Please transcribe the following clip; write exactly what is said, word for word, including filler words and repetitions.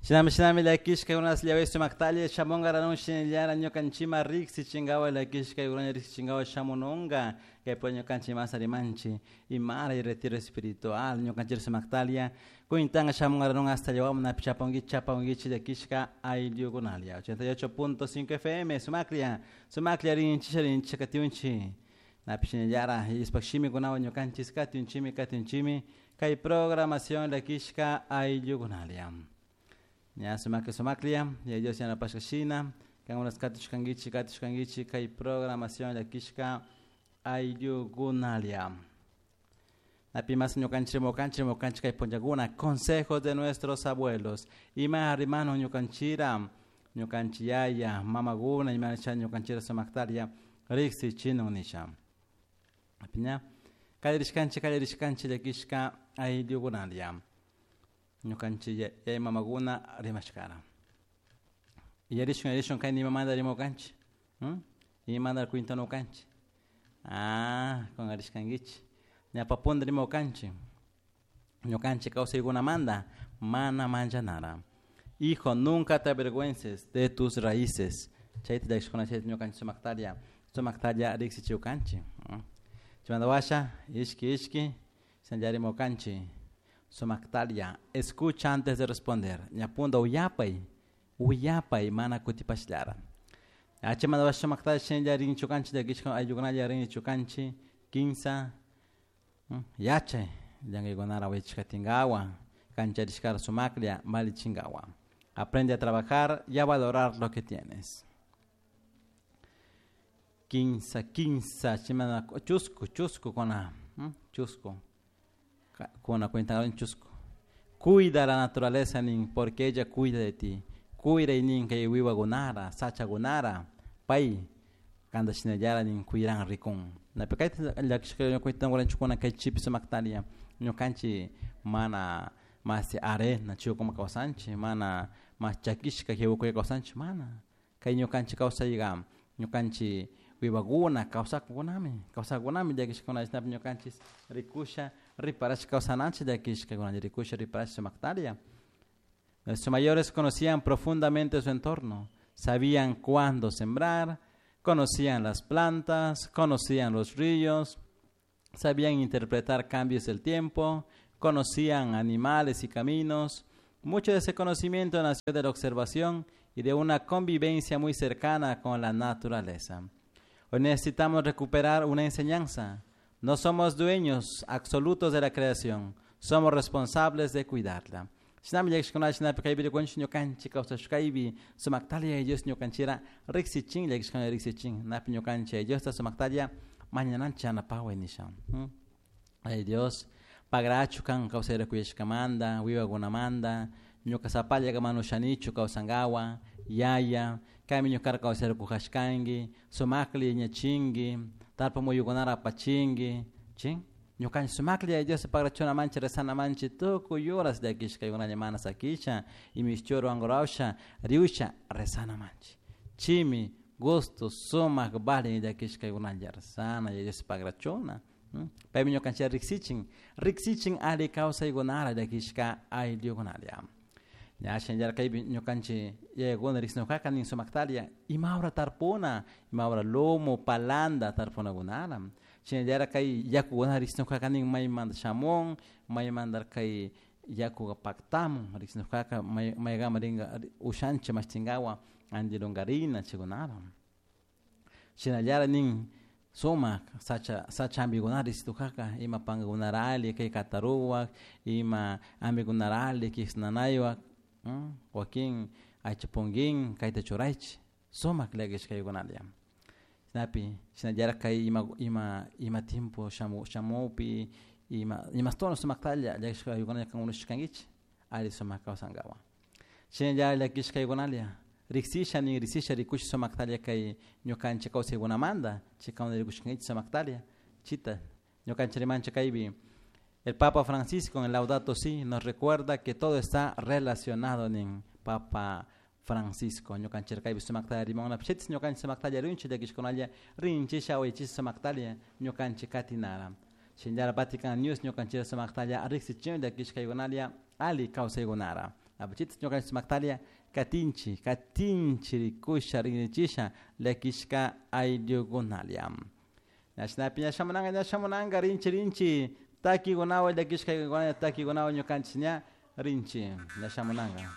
Shinami shinami llakishka unas sumaktalla shamunkaranun shinallara ñukanchima riksichinkawa llakishka kuna riksichinkawa shamununka kaypi ñukanchik masa rimanchik imara retiro espiritual ñukanchik sumaktalia kuintanga shamunkaranun hasta llawaman napi chapankichik chapankichik llakishka ayllukunalla ochenta y ocho punto cinco F M sumaklla sumaklla rinchik rinchik katiunchik napi shinallara ispak shimikunawan ñukanchik katiunchimi katiunchimi kay programación llakishka ayllukunalla. Ya sumakli sumaklia, ya Dios yanapashka shina, kankunas katushkankichik katushkankichik kay programación llakishka ayllukunalia. Napi mas ñukanchik rimukanchik rimukanchik kay punllakuna consejos de nuestros abuelos. Ima rimano ñukanchira, ñukanchik yaya, mamakuna, ima cha ñukanchira sumaktaria riksichinu nisha. Apiña, kallarishkanchik kallarishkanchik llakishka ayllukunalia. Ñukanchik yaya mamakuna rimashkara. Yarishun yarishun kay nimamanta rimukanchik. ¿Mm? Imamanta cuintanukanchik. Ah, con arishkankichik. Ñapapunda rimukanchik. Ñukanchik kawsaykunamanta mana manchanara. Hijo, nunca te avergüences de tus raíces. Chayta llakishkuna chayta ñukanchik sumaktaria, sumaktaria riksichiwkanchik. Chaymanta washa, ishki ishki, sanllarimukanchik. Sumaktaria, escucha antes de responder. Ñapunda uyapay, uyapay mana kutipashllara. Chaymanta washa sumaktaria shinalla rinchukanchik llakishka ayllukunalla rinchukanchik kinsa yachay llankaykunara waychishkatinkawa kancharishkara sumaklla valichinkawa. Aprende a trabajar y a valorar lo que tienes. Quinza, quinza, chimana, chusco, chusco con la, chusco. Con la cuenta en chusco. Cuida la naturaleza, nin, porque ella cuida de ti. Cuida y nin que wiwa gunara, sacha gunara, pai, kanda shinallara nin cuiran ricun. Na pekaita la que cuenta con chukuna que chip sumaktaria, ñukanchi mana mas arena chiu como kawsanchi, mana mas chakishka que wukuy kawsanchi, mana. Kay ñukanchi kawsayga, ñukanchi wiwaguna kawsakunami, kawsakunami llakishkuna shinapi ñukanchis rikusha riparash kawsananchik llakishkakuna rikusha riparash sumaktaria. Nuestros mayores conocían profundamente su entorno, sabían cuándo sembrar, conocían las plantas, conocían los ríos, sabían interpretar cambios del tiempo, conocían animales y caminos. Mucho de ese conocimiento nació de la observación y de una convivencia muy cercana con la naturaleza. Hoy necesitamos recuperar una enseñanza. No somos dueños absolutos de la creación, somos responsables de cuidarla. Shinami llakishkuna shinapi kaypi rikunchik ñukanchik kawsashkaypi sumaktalla Dios ñukanchira riksichin llakishkuna riksichin napi ñukanchik Diosta sumaktalla mañananchik yanapaway nisha. Ay Dios, pagrachu kan kawsayra kuyashkamanta, wiwakunamanta, ñuka sapalla manushanichu kawsankawa, yaya, kaymi ñukara kawsayra kujashkanki, sumakli ñachinki, tarpa muyukunara apachinki, chin? Ñukanchik sumakli Dios pagrachuna manchi rezana manchi tukuy horas llakishkaykunalla mana sakisha, imishchuru angurawsha, riusha rezana manchi. Chimi, gusto, sumak, valin llakishkaykunalla rezana, Dios pagrachuna. Paymi ñukanchik riksichin, riksichin ali kawsaykunara llakishka ayllukunalla. Ya shinallara kaypi ñukanchik yayakuna riksinuqaka nin sumaktaria, imawra tarpuna, imawra lumo, palanda tarpunakunara. Shinallara kay yakukuna riksinuqaka nin maymanta shamun, maymanta kay yakuka paktamun, riksinuqaka maykama rinka ushanchik mashtinkawa antilunkarina chaykunara. Shinallara nin sumak sacha sacha ambikunara riksinuqaka ima pankakunara alli kay kataruwak, ima ambikunara alli kisnanaywak, wakin aychapunkin kayta churaychik sumak llakishkaykunalla. Shinapi shinallara kay ima ima ima tiempo shamu shamupi ima imastono sumaktalla llakishkaykunalla kankunashkankichik alli sumak kawsankawa. Shinallara llakishkaykunalla riksisha nin riksisha rikush sumaktalla kay ñukanchik kawsaykunamanta chaykawana rikushkankichik sumaktalla chita ñukanchik rimanchik kaypi. El Papa Francisco en Laudato Si nos recuerda que todo está relacionado nin Papa Francisco. Ñukanchik kaypi sumaktalla rimanuna pichitis ñukanchik sumaktalla rinchik llakishkunalla rinchisha uyachisha sumaktalla ñukanchik katinara. Shinallara Vatican News ñukanchik sumaktalla riksichin llakishkaykunalla alli kawsaykunara. Apuchita ñukanchik sumaktalia katinchi katinchi rikusha rinrichisha llakishka ayllukunalia. Ñashnapi ña shamunanka ña shamunanka rinchi rinchi takikunawan llakishka takikunawan ñukanchik ña rinchi ña shamunanka.